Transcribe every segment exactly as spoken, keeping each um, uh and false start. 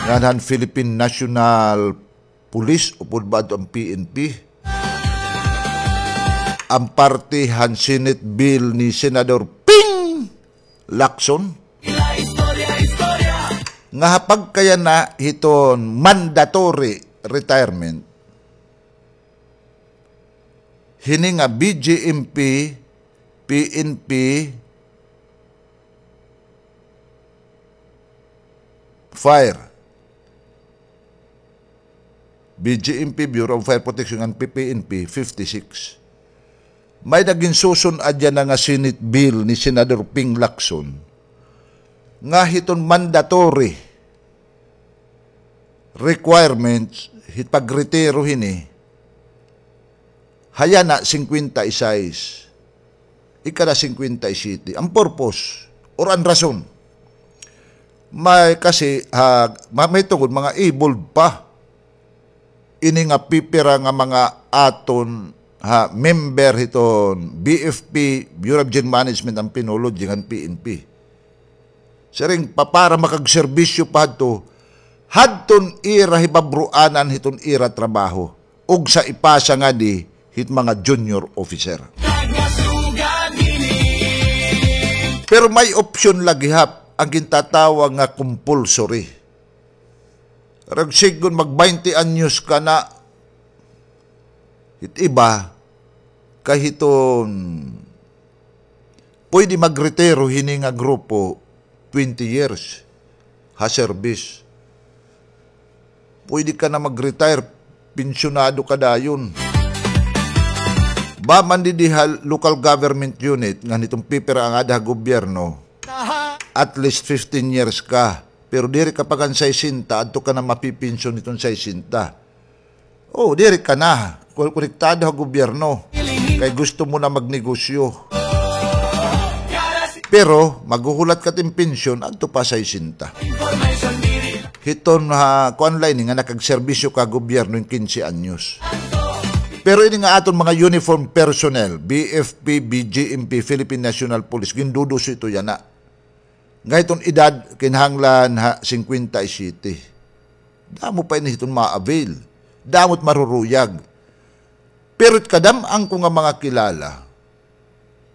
Ngan han Philippine National Police, upod ba adto an P N P? An parte han Senate bill ni Senador Ping Lacson nga ha pagkayana hiton mandatory retirement, hini nga B J M P, P N P, Fire. B J M P, Bureau of Fire Protection, ngan P P N P, fifty-six. May-ada ginsusun-ad yana nga Senate bill ni Senador Ping Lacson nga hiton mandatory requirements hit pagretiro hini, ha yana singkwenta y sais, ikada singkwenta y siyete. An purpose or an rason, may kasi, ha, ma-, may tungod mga evolved pa ini nga pipira nga mga aton, ha, member hiton B F P, Bureau of Gin Management, an PNOLOG ngan P N P. Siring pa, para makagserbisyo pa hadto, hadton ira hibabruanan hiton ira trabaho, ug sa ipasa ngadi hit mga junior officer. Pero may opsyon la gihap, an gintatawag nga compulsory. Rag sigon mag-baynte anyos ka na, hit iba, kay hiton pwede magretiro hini nga grupo, twenty years ha service. Pwede ka na mag-retire, pensyonado ka dayon. Ba man didi ha local government unit, ngan hiton pipira an aada ha gobyerno, at least fifteen years ka. Pero diri ka pa kan saysenta, adto ka na mapipensyon hiton saysenta. O, diri ka na kon-, konektado ha gobyerno. Kay gusto mo na magnegosyo. Pero maghuhulat ka tin pensyon adto pa saysenta. Hiton ha, kuan la ini nga nakagserbisyo ka ha gobyerno hin kinse anyos. Pero ini nga aton mga uniform personnel, B F P, B J M P, Philippine National Police, ginduduso ito yana. Nga hiton edad, kinahanglan ha singkwenta y siyete. Damo pa ini hiton ma-avail. Damo it maruruyag. Pero it kadam-an ko nga mga kilala,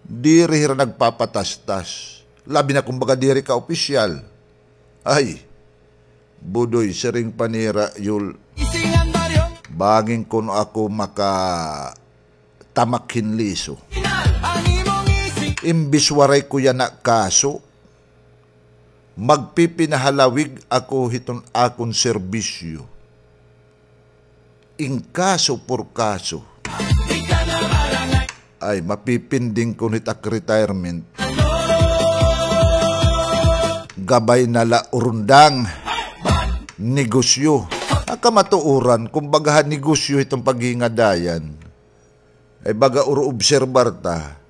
diri hira nagpapatastas. Labi na kon baga diri ka opisyal. Ay, Budoy, siring pa nira, Yul, bangin kuno ako makatamak hin liso. Imbis waray ko yana kaso, magpipinahalawig ako hiton akon serbisyo. In kaso por kaso. Ay, mapipinding kuno it ak retirement. Gabay na la urundang negosyo. An kamatuoran, kumbaga ha negosyo hiton paghingadayan. Ay baga uro obserbar ta.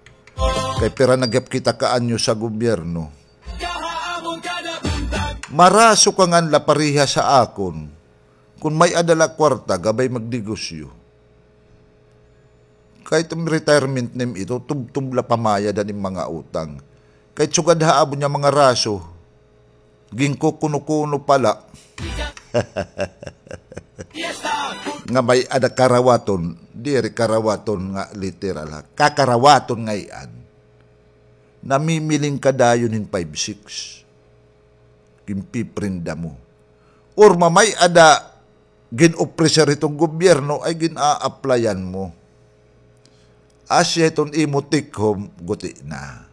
Kay pira na gihap kita ka anyos ha gobyerno. Maraso ka ngan la parehas ha akon. Kon may-ada la kwarta, gabay magnegosyo. Kay it retirement nim ito, tubtob la pamayad han im mga utang. Kay sugad ha amo niya mga raso, ginkukuno-kuno pa la. Nga may-ada karawaton, diri karawaton nga literal ha. Kakarawaton ngay-an. Namimiling ka dayon hin five six. Ginpiprenda mo. Or mamay-ada gin-ofrecer hiton gobyerno ay gin-a-applyan mo. Asya hiton imo take home, guti na.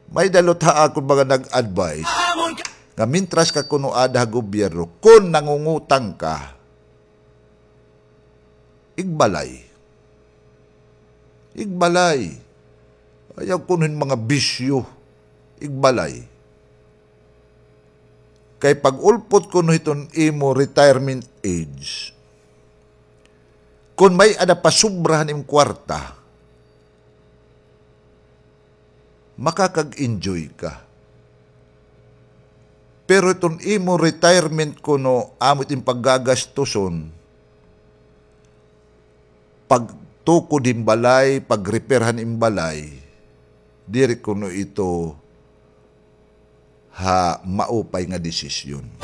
May-ada liwat ha akon mga nag-advise nga mintras ka kuno aada ha gobyerno, kon nangungutang ka, igbalay. Igbalay. Ayaw kuno hin mga bisyo. Igbalay. Kay pag-ulpot kuno hiton imo retirement age, kon may-ada pa sobra han im kwarta, makakag-enjoy ka. Pero iton imo retirement kuno, amo it im paggagastuson, pagtukod hin balay, pag-repair han im balay, diri kuno ito ha maupay nga desisyon.